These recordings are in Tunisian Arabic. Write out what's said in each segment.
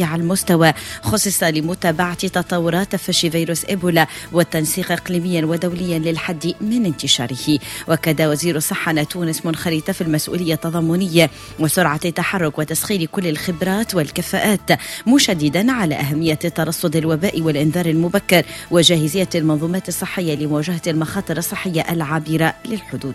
على المستوى خصص لمتابعة تطورات تفشي فيروس إيبولا والتنسيق إقليميا ودوليا للحد من انتشاره. وكاد وزير الصحة أن تونس منخرطة في المسؤولية التضامنية وسرعة التحرك وتسخير كل الخبرات والكفاءات، مشددا على أهمية ترصد الوباء والإنذار المبكر وجاهزية المنظومات الصحية لمواجهة المخاطر الصحية العابرة للحدود.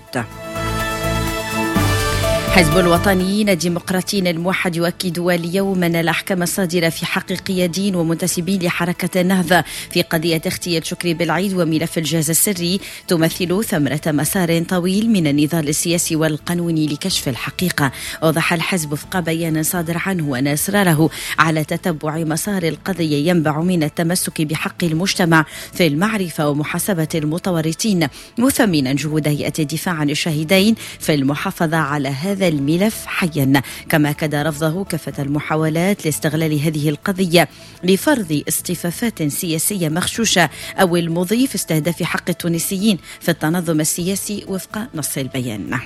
حزب الوطنيين الديمقراطيين الموحد يؤكد اليوم أن الأحكام الصادرة في حق قياديين ومنتسبين لحركة النهضة في قضية اغتيال شكري بالعيد وملف الجهاز السري تمثل ثمرة مسار طويل من النضال السياسي والقانوني لكشف الحقيقة. أوضح الحزب وفق بيان صادر عنه أن إصراره على تتبع مسار القضية ينبع من التمسك بحق المجتمع في المعرفة ومحاسبة المتورطين، مثمنا جهود هيئة الدفاع عن الشهيدين في المحافظة على هذا الملف حيا. كما أكد رفضه كافة المحاولات لاستغلال هذه القضية لفرض اصطفافات سياسية مغشوشة أو المضي في استهداف حق التونسيين في التنظم السياسي وفق نص البيان.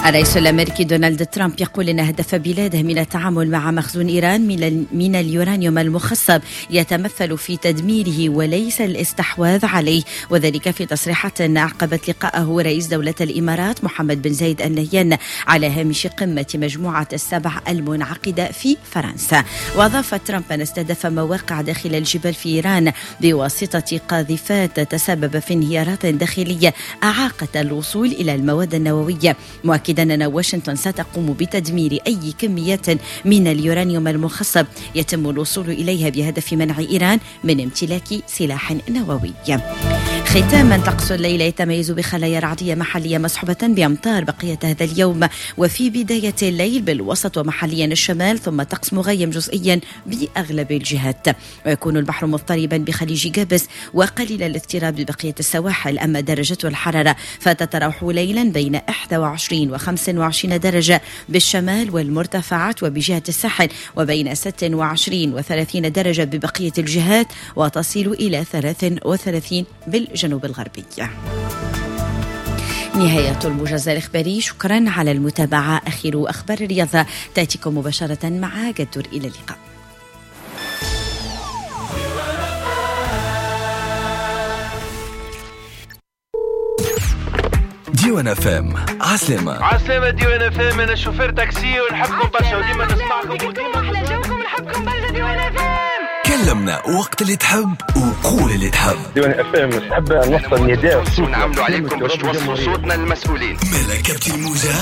الرئيس الأمريكي دونالد ترامب يقول إن هدف بلاده من التعامل مع مخزون إيران من اليورانيوم المخصب يتمثل في تدميره وليس الاستحواذ عليه، وذلك في تصريحات أعقبت لقاءه رئيس دولة الإمارات محمد بن زايد النهيان على هامش قمة مجموعة السبع المنعقدة في فرنسا. وأضاف ترامب أن استهدف مواقع داخل الجبال في إيران بواسطة قاذفات تسبب في انهيارات داخلية أعاقت الوصول إلى المواد النووية، مؤكدا أن واشنطن ستقوم بتدمير أي كميات من اليورانيوم المخصب يتم الوصول إليها بهدف منع إيران من امتلاك سلاح نووي. ختاما، طقس الليلة يتميز بخلايا رعدية محلية مصحوبة بأمطار بقية هذا اليوم وفي بداية الليل بالوسط ومحليا الشمال، ثم طقس مغيم جزئيا بأغلب الجهات، ويكون البحر مضطربا بخليج قابس وقليل الاضطراب ببقية السواحل. أما درجة الحرارة فتتراوح ليلا بين 21 و 25 درجة بالشمال والمرتفعات وبجهة الساحل، وبين 26 و 30 درجة ببقية الجهات، وتصل إلى 33 بالجنوب الغربي. نهاية الموجز الإخباري، شكرا على المتابعة. أخير أخبار الرياضة تأتيكم مباشرة مع قدر. إلى اللقاء. ديوان FM، عسلامة. عسلامة ديوان FM، أنا شوفير تاكسي ونحبكم برشا وديما نسمعكم وديما أحلى جوكم، نحبكم برشا ديوان FM. كلمنا وقت اللي تحب وقول اللي تحب. ديوان FM نحب نوصل نداء ونعملوا عليكم باش توصلوا صوتنا للمسؤولين. ملكة الموجة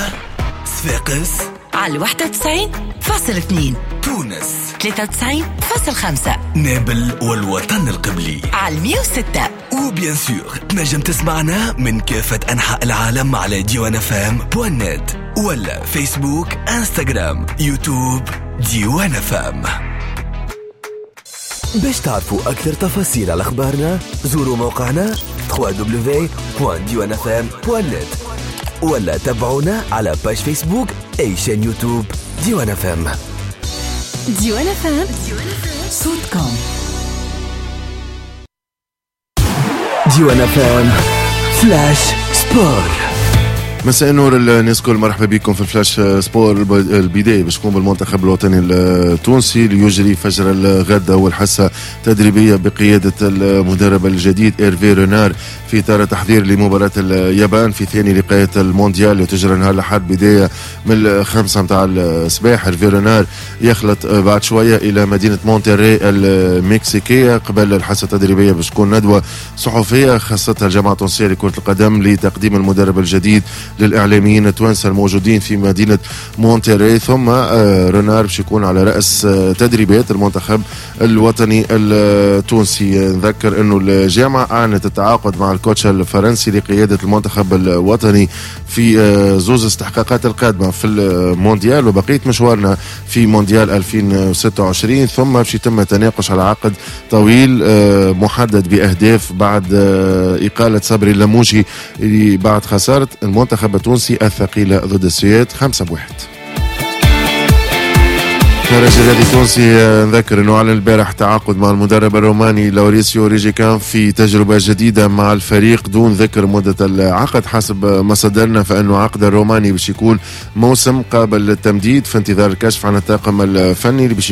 صفاقس على 91.2، تونس 93.5، نابل والوطن القبلي على 106. و bien sûr تنجم تسمعنا من كافة أنحاء العالم على ديوان FM point net ولا فيسبوك، انستغرام، يوتيوب ديوان FM. باش تعرفوا أكثر تفاصيل على أخبارنا زوروا موقعنا www.diwanfm.net ولا تابعونا على page فيسبوك أي chaîne يوتيوب ديوان FM. ديوان FM صوتكم. ديوان FM flash sport. مساء النور الناس الكل، مرحبا بكم في ال flash sport. البداية باش تكون بالمنتخب الوطني التونسي اللي يجري فجر الغد أول حصة تدريبية بقيادة المدرب الجديد إيرفي رونار في إطار تحضير لمباراة اليابان في ثاني لقاءات المونديال اللي تجرى نهار الأحد بداية من 5 متاع الصباح. إيرفي رونار يخلط بعد شوية إلى مدينة مونتيري المكسيكية. قبل الحصة التدريبية باش تكون ندوة صحفية خاصتها الجامعة التونسية لكرة القدم لتقديم المدرب الجديد للإعلاميين التوانسة الموجودين في مدينة مونتيري. ثم رونار باش يكون على رأس تدريبات المنتخب الوطني التونسي. نذكر أنه الجامعة أعلنت التعاقد مع ال coach الفرنسي لقيادة المنتخب الوطني في زوز استحقاقات القادمة في المونديال وبقية مشوارنا في مونديال 2026. ثم باش يتم التناقش على عقد طويل محدد بأهداف بعد إقالة صبري اللموشي بعد خسارة المنتخب التونسي الثقيلة ضد السويد 5-1. الترجي الرياضي التونسي نذكر انه اعلن البارح تعاقد مع المدرب الروماني لوريسيو ريجيكان في تجربه جديدة مع الفريق دون ذكر مده العقد. حسب مصادرنا فانه عقد الروماني باش يكون موسم قابل للتمديد في انتظار الكشف عن الطاقم الفني اللي باش